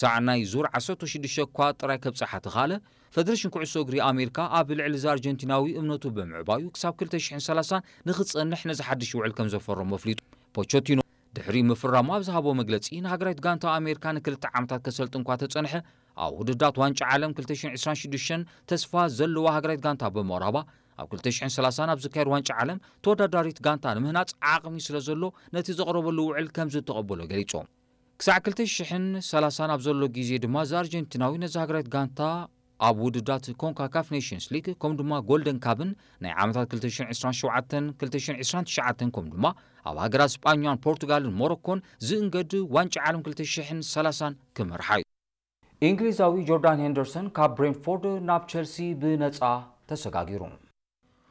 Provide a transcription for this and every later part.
ክሳዕ ናይ ዙር ዓሰርተ ሽዱሽተ እኳ ጥራይ ከብጽሓ ተኻእለ፣ ፈደረሽን ኩዕሶ እግሪ ኣሜሪካ ኣብ ልዕሊ እዚ ኣርጀንቲናዊ እምነቱ ብምዕባዩ ክሳብ ክልተ ሽሕን ሰላሳን ንኽጸንሕ ነዚ ሓድሽ ውዕል ከም ዘፈረሞ ኣፍሊጡ። ፖቸቲኖ ድሕሪ ምፍራሙ ኣብ ዝሃቦ መግለጺ፣ ንሃገራዊት ጋንታ ኣሜሪካ ንክልተ ዓመታት ከሰልጥን እኳ ተጸንሐ፣ ኣብ ውድድራት ዋንጫ ዓለም ክልተ ሽሕን ዕስራን ሽዱሽተን ተስፋ ዘለዋ ሃገራዊት ጋንታ ብምቕራባ፣ ኣብ ክልተ ሽሕን ሰላሳን ኣብ ዝካየድ ዋንጫ ዓለም ተወዳዳሪት ጋንታ ንምህናጽ ዓቕሚ ስለ ዘሎ፣ ነቲ ዘቕረበሉ ውዕል ከም ዝተቐበሎ ገሊጹ። ክሳዕ ክልተ ሽሕን ሰላሳን ኣብ ዘሎ ግዜ ድማ፣ እዚ ኣርጀንቲናዊ ነዚ ሃገራዊት ጋንታ ኣብ ውድድራት ኮንካካፍ ኔሽንስ ሊግ፣ ከም ድማ ጎልደን ካፕን ናይ ዓመታት ክልተ ሽሕን ዕስራን ሸውዓተን ክልተ ሽሕን ዕስራን ትሽዓተን፣ ከም ድማ ኣብ ሃገራት ስጳኛን ፖርቱጋልን ሞሮኮን ዝእንገድ ዋንጫ ዓለም ክልተ ሽሕን ሰላሳን ክመርሓ እዩ። እንግሊዛዊ ጆርዳን ሄንደርሰን ካብ ብሬንትፎርድ ናብ ቸልሲ ብነጻ ተሰጋጊሩ።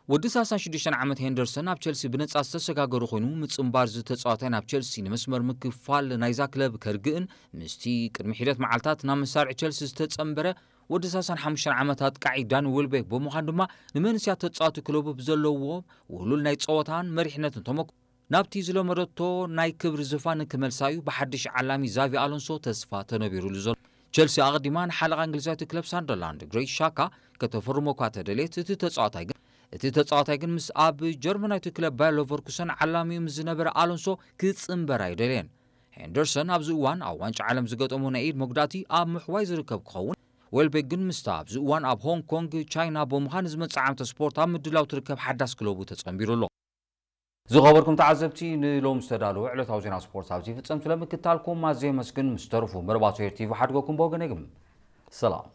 ወዲ ሰላሳን ሽዱሽተን ዓመት ሄንደርሰን ኣብ ቸልሲ ብነጻ ዝተሰጋገረ ኮይኑ፣ ምጽንባር እዚ ተጻዋታይ ናብ ቸልሲ ንመስመር ምክፋል ናይዛ ክለብ ከርግእን ምስቲ ቅድሚ ሒደት መዓልታት ናብ መሳርዒ ቸልሲ ዝተጸንበረ ወዲ ሰላሳን ሓሙሽተን ዓመት ኣጥቃዒ ዳኒ ዌልቤክ ብምዃን ድማ፣ ንመንስያት ተጻዋቲ ክለቡ ብዘለዎ ውህሉል ናይ ጸወታን መሪሕነትን ተመክሮ ናብቲ ዝለመደቶ ናይ ክብሪ ዝፋን ክመልሳ እዩ ብሓድሽ ዓላሚ ዛቪ ኣሎንሶ ተስፋ ተነቢሩሉ ዘሎ። ቸልሲ ኣቐዲማ ንሓለቓ እንግሊዛዊት ክለብ ሳንደርላንድ ግሬት ሻካ ከተፈርሞ እኳ ተደልየት፣ እቲ ተጻዋታይ ግን እቲ ተጻዋታይ ግን ምስ ኣብ ጀርመናዊት ክለብ ባየር ሌቨርኩሰን ዓላሚኡ ምስ ዝነበረ ኣሎንሶ ክጽንበር ኣይደልየን። ሄንደርሰን ኣብዚ እዋን ኣብ ዋንጫ ዓለም ዝገጠሞ ናይ ኢድ መጉዳእቲ ኣብ ምሕዋይ ዝርከብ ክኸውን፣ ዌልቤክ ግን ምስታ ኣብዚ እዋን ኣብ ሆንግ ኮንግ ቻይና ብምዃን ዝመጽእ ዓመተ ስፖርት ኣብ ምድላው ትርከብ ሓዳስ ክለቡ ተጸንቢሩ ኣሎ። ዝኸበርኩም ተዓዘብቲ፣ ንሎም ዝተዳለወ ዕለታዊ ዜና ስፖርት ኣብዚ ይፍጸም። ስለምክታልኩም ኣዝየ የመስግን። ምስ ተረፉ መርባቶ ኤር ቲቪ ሓድገኩም ብወገነይ ግን ሰላም።